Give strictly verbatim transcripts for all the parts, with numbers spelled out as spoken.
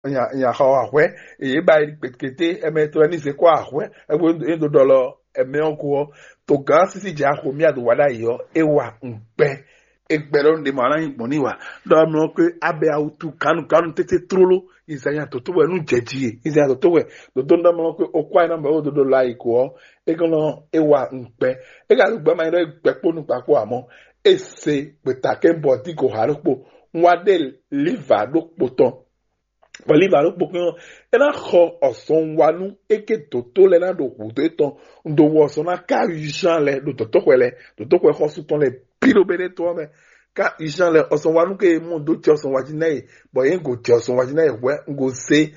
Nya xɔ ahwɛ, eye ba yi kpekete, ɛmɛ to ɛni se kɔ ahwɛ, ɛgbɛ e do ɖɔ lɔ, ɛmɛ ɔ́ ko ɔ́, to gán sisi dza xo mi ado wa ɖ'ayǐ ɔ́, é wa ŋgbɛ. Egbɛ ɖɔ ɖe ma ná nyi gbɔn ní wa, ɖɔ mlɔ pé abɛ awutu kanu kanu tete tlóló, izanya toto wɛ nú jɛ ji e, izanya toto wɛ, dodo ɖɔ mlɔ pé okwa ina mɛ wo dodo la yi ko ɔ́, é kɔn nɔ é wa ŋgbɛ. É ka ɖo gbɛ ma nyí ɖɔ é gbɛ kpó nukpa kpó amɔ, é se gbeta kɛ bɔ dí go ha ɖokpo, un wa ɖe liva ɖokpo tɔn. Bɔ liva ɖokpo kɛn ɔ́, é ná xɔ ɔsɔn wa nú é ké dǒtó lɛ́ɛ ná ɖo hǔdó étɔn, un ɖo wɔ ɔsɔn ná ká Jean lɛ ɖo dɔ̌tɔ́xwɛ lɛ, dɔ̌tɔ́xwɛ xɔ́sú tɔn lɛ bǐ ɖo Bɛnɛ́tɔ́ ɔ́ mɛ. Ká Jean lɛ ɔsɔn wa nú ké mɔ dó jɛ ɔsɔn wa jí ná yě, bɔ yě go jɛ ɔsɔn wa jí ná yě hwɛ̌ un go zé.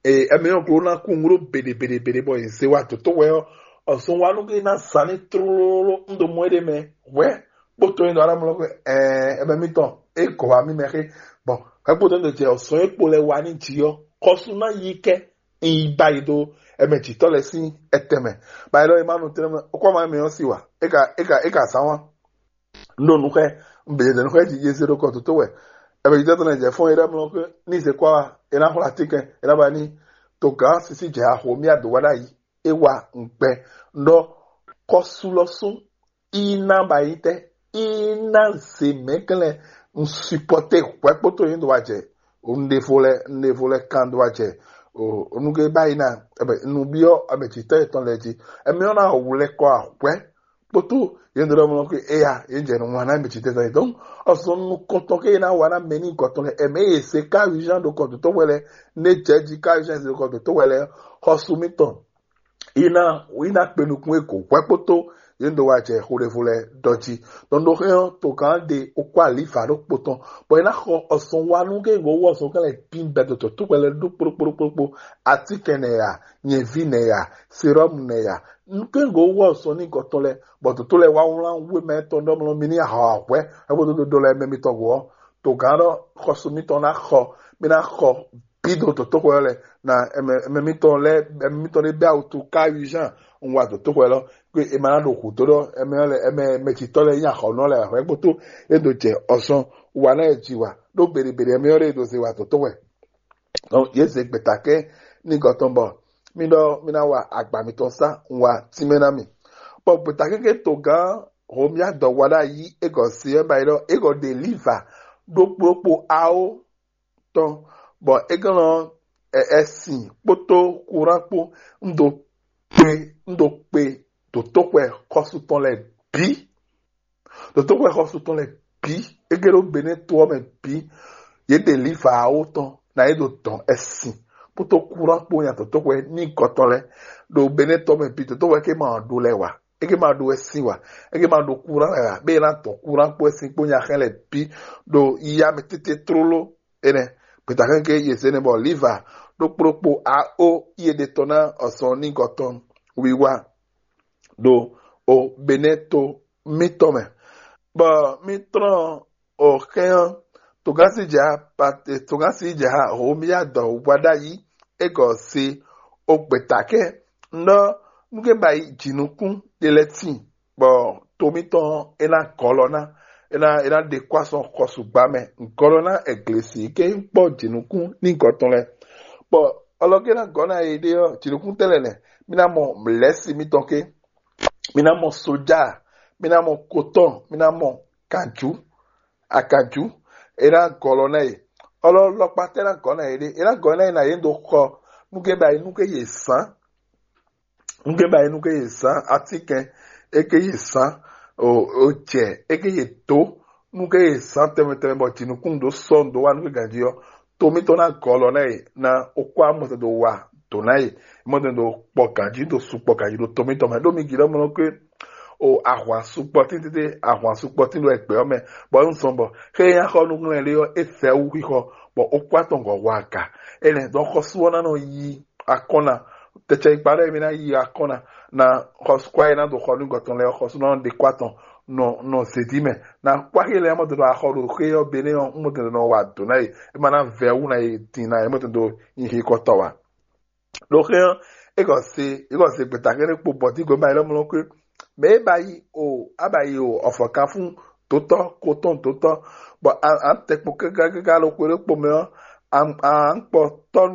Ɛmɛ ɔ́ glo ná kú un ɖó beɖe beɖe beɖe bɔ yě zé wa dǒtɔ́xwɛ ɔ́, ɔsɔn wa nú ké ná zán ní tlóló un ɖo mɔ é ɖé mɛ hwɛ̌. Kpótó nyi ɖɔ aɖamlɔ xwe ɛɛ ɛmɛ mitɔn e gɔ wa mi mɛ xe. Bɔn hwɛkpótó nyi ɖo jɛ ɔsɔn e kpo lɛ wa ní ji ɔ́, xɔsú ná yi kɛ nyi ba yi ɖo ɛmɛ jǐtɔ lɛ sín ɛtɛ mɛ. Ba yi ɖɔ e ma nu tɛnɛ mɛ, o kɔ ma mɛ ɔ́ si wa e ka e ka e ka zán wa. N ɖo nu xɛ n bɛ jɛ nu xɛ ji yeze ɖo kɔ toto wɛ. Ɛmɛ jǐtɔ tɔn lɛ jɛ fɔn e ɖɔ mlɔ xwe ní se kɔ wa e ná xwlá ti kɛ e ná ba ní to gǎn sisi jɛ axo mi ado wa ɖ'ayi e wa ŋgbɛ. N ɖɔ xɔsú lɔ sún í ná ba yi tɛ í ná ze mɛglɛn un supporter hwɛ kpótó yín do wa jɛ un ɖevo lɛ un ɖevo lɛ kan do wa jɛ o nuge ba yi na ɛbɛ nu biɔ ɛbɛ jitɔ yetɔn lɛ ji ɛmɛ ɔna wulɛ kɔ ahwɛ kpótó yín do lɛ mɔ ke eya yín jɛ nu wana ɛbɛ jitɔ yetɔn donc ɔsɔn nu kɔntɔn ke yín na wa na mɛ ní gɔtɔn lɛ ɛmɛ yɛ se ka urgent do kɔ dotɔ wɛ lɛ ne jɛ ji ka urgent do kɔ dotɔ wɛ lɛ xɔsu mitɔn yín ná yín ná kpe nukún e gǒ hwɛ kpótó yín do wa jɛ xo ɖevo lɛ dɔ jí. Dɔnɖó xɛ ɔ́ to gǎn ɖe wokpó alifa ɖokpó tɔn bɔ yín ná xɔ ɔsɔn wa nú ké gǒ wɔ ɔsɔn kɛlɛ bín bɛdo tó tó kpɛlɛ ɖó kpóɖókpóɖókpó atínkɛn nɛ ya nyɛví nɛ ya serɔmu nɛ ya ké gǒ wɔ ɔsɔn ní gɔtɔn lɛ bɔ tó tó lɛ wá wlán wé mɛ tɔn ɖɔ mlɔ mi ní ahɔ ahwɛ ɛ bó dó dó lɛ mɛ mitɔn gǒ ɔ́ to gǎn ɖɔ xɔsu mitɔn ná xɔ mi ná xɔ bí do dǒtóxwɛ ɔ́ lɛ na ɛmɛ ɛmɛ mitɔn lɛ ɛmɛ mitɔn ɖé bɛ awu tu ká yu jean un wa dǒtóxwɛ lɔ pé è ma ná ɖo hǔ dó ɖɔ ɛmɛ ɔ́ lɛ ɛmɛ mɛjitɔ́ lɛ nyí axɔnɔ lɛ ahwɛ gbótó é ɖo jɛ ɔsɔn wa ná yɛ ji wa ɖó beɖebeɖe ɛmɛ ɔ́ ɖe ɖo ze wa dǒtóxwɛ. Donc yě zě gbětakɛ́ ní gɔtɔn bɔ mí ɖɔ mí ná wa agba mitɔn sá un wa tínmɛ ná mì. Bɔ gbětakɛ́ ké togán Homia dɔ wa ɖ'ayǐ é gɔ se ɔ́ ba yi ɖɔ é gɔ ɖe liva ɖokpó ɖokpó awo tɔn bɔ é gɔn nɔ ɛsin kpódó kuran kpó un do kpe un do kpe dǒtóxwɛ xɔsu tɔn lɛ bǐ dǒtóxwɛ xɔsu tɔn lɛ bǐ é gé ɖó Benɛ́ to ɔ́ mɛ bǐ yě ɖe liva awo tɔn ná yě ɖo dɔn ɛsin kpódó kuran kpó nya dǒtóxwɛ ní gɔ tɔn lɛ ɖo Benɛ́ tɔn mɛ bǐ dǒtóxwɛ ké ma ɖo lɛ wa é ké ma ɖo ɛsin wa é ké ma ɖo kuran lɛ wa bẹ́ẹ̀ ná dɔn kuran kpó ɛsin kpó nya xɛ lɛ bǐ ɖo yíyá mɛ tete tlóló énɛ́ gbeta kɛ́nkɛ́n yě zé nɛ́ bɔ liva ɖokpó ɖokpó a ó yé ɖe tɔn ná ɔsɔn ní gɔtɔn wiwa ɖo o Benɛ́ to mítɔn mɛ. Bɔ mí tlɔ́n o xɛ́n ɔ́, togánsi jɛ ha pate togánsi jɛ ha Homia dɔ wá ɖ'ayǐ é gɔ se o gbeta kɛ́n un ɖɔ nú ké ba yi jǐnukún ɖe lɛ́ tíin bɔ to mítɔn ɔ́ é ná gɔlɔ ná é ná é ná ɖe kó asɔn xɔsugba mɛ gɔlɔ ná ɛglesi ké kpɔ jǐnukún ní gɔtɔn lɛ bɔ ɔlɔgé ná gɔ́ ná yé ɖé ɔ́ jǐnukún tɛ́ lɛ́ nɛ́ mí ná mɔ lɛ̌si mítɔn ké mí ná mɔ soja mí ná mɔ kotɔn mí ná mɔ kanjú akanjú é ná gɔlɔ ná yé ɔlɔ lɔkpa tɛ́ ná gɔ́ ná yé ɖé é ná gɔ́ ná yé ná yé ɖó xɔ nú ké ba yi nú ké yě sán nú ké ba yi nú ké yě sán atínkɛn é ké yě sán o o jɛ é ké yě dó nú ké yě sán tɛnmɛ tɛnmɛ bɔ jǐnukún ɖó sɔ́ ɖó wá nú ké ganjí ɔ́ to mítɔn ná gɔlɔ ná yě ná ó kó amɔtɛ ɖo wa dǒ ná yě mɔtɛ ɖo kpɔ ganjí ɖo su kpɔ ganjí ɖo to mítɔn mɛ ɖó mi gǐ ɖɔ mlɔ ké o ahwan sukpɔ tín tete ahwan sukpɔ tín ɖo ẹgbẹ́ ɔ́ mɛ bɔ é ń zɔn bɔ xé é nyá xɔ nú ŋlɛ́ lé ɔ́ é fɛ wú xixɔ bɔ ó kó atɔngɔ hɔ aga énɛ́ dɔn xɔsú ɔ́ ná nɔ yí akɔ́nna tɛtsɛ ikpa ɖɔ émí ná yi akɔ́nna na xɔsukwa e ná do xɔ nú gɔtɔn lɛ xɔsú ná ɖe kó atɔn nɔ nɔ zedi mɛ na kwáxi lɛ mɔtò nɔ axɔ ɖo xé ɔ́ bené ɔ́ mɔtò nɔ wa dǒ ná yě é ma ná vɛ wú ná yě din ná yě mɔtò do nyi xi kɔtɔ wa ɖo xé ɔ́ é gɔ se é gɔ se gbeta kɛ́ɖé kpo bɔtígbe ma yi lɔ mlɔ kwé mɛ é ba yi o a ba yi o ɔfɔkan fún dotɔ kotɔn dotɔ bɔ a a tɛ kpo kákákáká ɖo xwe ɖé kpo mɛ ɔ́ Ankpɔtɔ́